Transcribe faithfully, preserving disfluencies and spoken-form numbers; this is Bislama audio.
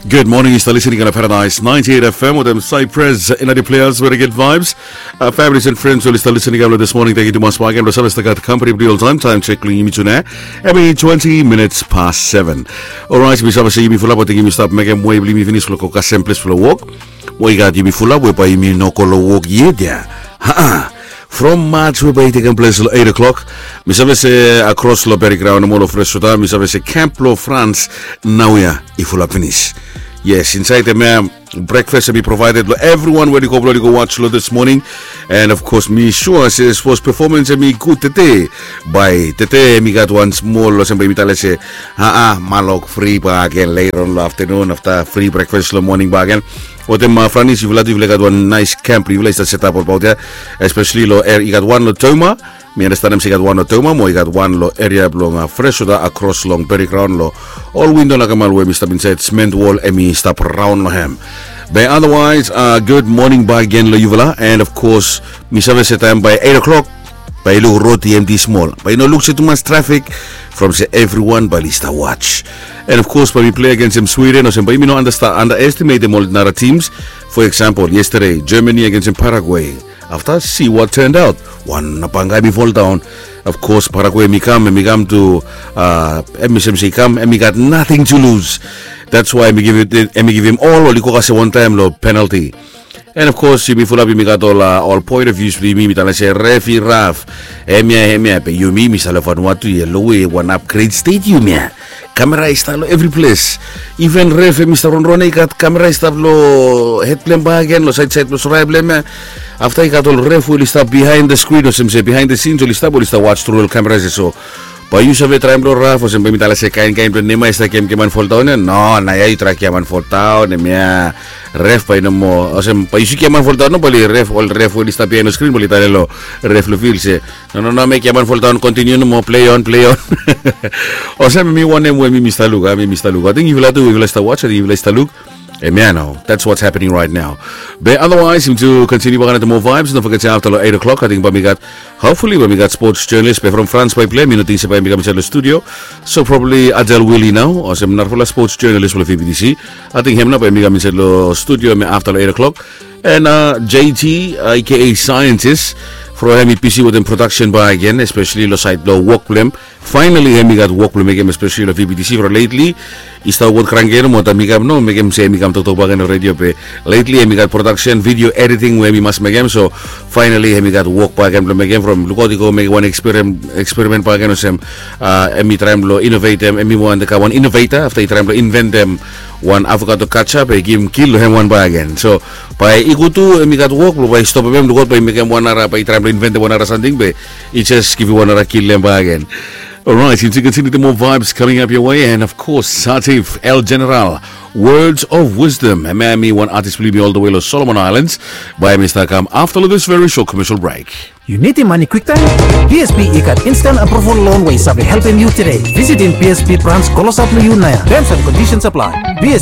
Good morning, yu stap listening on Paradise ninety-eight F M wetem Cypress Energy Players, very good vibes. Uh, families and friends, yu stap listening on this morning. Thank you tumas bak gen lo save stap gat company blo yu oltaem, taem check lo yumi tune. Hemi twenty minutes past seven. Alright, mi save se yumi fulap, ating yumi stap mekem wei blo yumi finis lo go kasem ples blo wok. Mo i gat yumi fulap we bae yumi no go lo wok yet ya. Ha-a. From March we bae i tekem ples lo eight o'clock. Mi save se akros lo Berry Ground nomo lo Fresh Water, mi save se camp lo France naoia i fulap finis. Yes, insaed hemia, breakfast hemi provided lo everyone we oli go blo oli go watch lo this morning. And of course mi sua se sapos performance hemi gud tede, bae tede hemi gat wan smol olsem bae yumi talem se, ha-a, malok fri bak gen later on lo afternoon afta fri breakfast lo morning bak gen. Wetem, uh, Franis, yufala tu yufala i gat wan naes camp blo yufala i stap setap olbaot ya. Especially lo, i gat wan lo Toma. Mi andastanem se i gat wan lo Toma mo i gat wan lo eria blong, uh, Fresh Water akros long Berry Ground lo ol windo nakamal we hemi stap insaed, cement wall hemi stap raon lo hem. Be otherwise, uh, good morning bak gen lo yufala. And of course mi save se taem bae eight o'clock bae i luk rod i emti smol, bae i no luk se tumas traffic from se everyone bae oli stap watch. And of course bae mi plei agensem Sweden olsem bae yumi no understa-, underestimatem ol nara teams. For example, yesterday Germany agensem Paraguay. Afta see what turned out. Wan banga hemi foldaon. Of course Paraguay hemi kam, hemi kam tu, uh, hemi olsem se i kam, hemi gat nothing to lose. That's why hemi givim, hemi givim ol, oli go kasem wantaem lo penalty. And of course yumi fulap yumi gat ol, uh, ol point of views blo yumi, mi talem se ref i raf. Hemia, hemia, be yumi, mi stap lo Vanuatu ya, lo we wan upgrade stadium ya. Kamera i stap lo evri ples. Even ref hemi stap ronron ya, i gat kamera i stap lo hed blo hem bak gen, lo saedsaed blo sore blo hem ya. Afta i gat ol ref we oli stap behind the screen olsem se behind the scenes oli stap, oli stap watch through ol kamera ya. So bae yu save traem blo raf olsem bae mi talem se kaen kaen blo nema i stap giaman foldaon ya. No, naoia yu traem giaman foldaon, hemia. Ref bae i no moa olsem, bae yu si giaman foldaon, no bae oli ref, ol ref we oli stap behind the screen bae oli talem lo ref lo field se, no, no, no, mek giaman foldaon, continue nomo, play on, play on. Olsem hemi wanem we mi, mi stap luk, a, mi, mi stap luk. Ating yufala tu, yufala i stap watch, ating yufala i stap luk. Hemia nao, that's what's happening right now. Be otherwise yumi tu continue bak gen wetem moa vibes. Don't forget se afta lo eight o'clock ating bae mi gat, hopefully bae mi gat sports journalist be from France bae i plei, mi no ting se bae hemi kam insaed lo studio. So probably Adel Willie nao olsem narafala sports journalist blo VBTC. Ating hem nao bae hemi kam insaed lo studio hemia afta lo eight o'clock. And, uh, J T, uh, A K A Scientist, from hemi bisi wetem production bak gen, especially lo saed blo wok blo hem. Finally hemi gat wok blo mekem, especially lo VBTC from lately. I stap wok kranke nomo, taem mi kam no mekem se hemi kam toktok bak gen lo radio be lately hemi gat production, video editing we hemi mas mekem. So finally hemi gat wok bak gen blo mekem from lukaot i go mekem wan experiment, experiment bak gen olsem, uh, hemi traem blo innovatem, hemi wan, the guy wan innovator, afta i traem blo inventem wan avocado ketchup, be i givim kil lo hem wan bak gen. So bae i go tu, hemi gat wok blo bae i stopem hem, lukaot bae i mekem wan nara, bae i traem blo inventem wan nara samting be i just givim wan nara kil lo hem bak gen. Alright, yumi continue wetem moa vibes coming up your way, and of course Satif El General, Words of Wisdom. Hemia hemi wan artist blo yumi all the way lo Solomon Islands. Bae hemi stap kam afta lo this very short commercial break. Yu nidim mane kwiktaem? BSP i gat instant approval loan we i save helpem yu tede. Visitim BSP branch klosap lo yu naoia. Terms and conditions apply. BSP